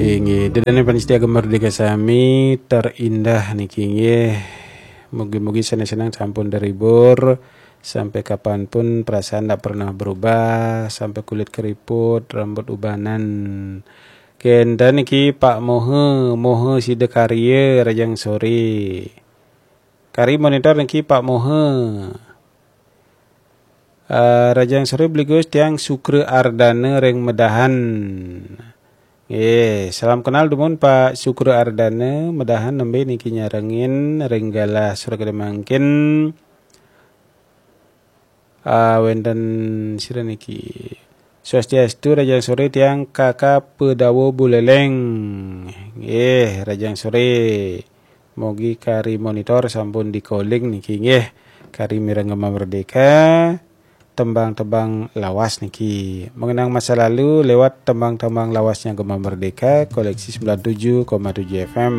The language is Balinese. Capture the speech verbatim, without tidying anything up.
Inggih, ida dané pamiarsa Gema Merdeka sami, terindah niki nggih. Mugi-mugi sanés-sanés sampun terhibur, sampai kapanpun perasaan tidak pernah berubah, sampai kulit keriput, rambut ubanan. Kénten niki Pak Mohe, Mohe Sidakarya, rahajeng soré. Kari monitor niki Pak Mohe. Eh, rahajeng soré Bli Gus, tiang Sukra Ardana ring Medahan. Nggih, salam kenal dumun Pak Sukra Ardana, Medahan, nembé niki nyarengin ring galah sore mangkin. Ah, wénten sira niki. Swastiastu, rahajeng soré tiang Kakak Pedawa Buleleng. Nggih, rahajeng soré. Mugi kari monitor sampun di-calling niki nggih. Kari mireng Gema Merdeka, tembang-tembang lawas niki. Mengenang masa lalu lewat tembang-tembang lawasnya Gema Merdeka, koleksi sembilan tujuh koma tujuh F M.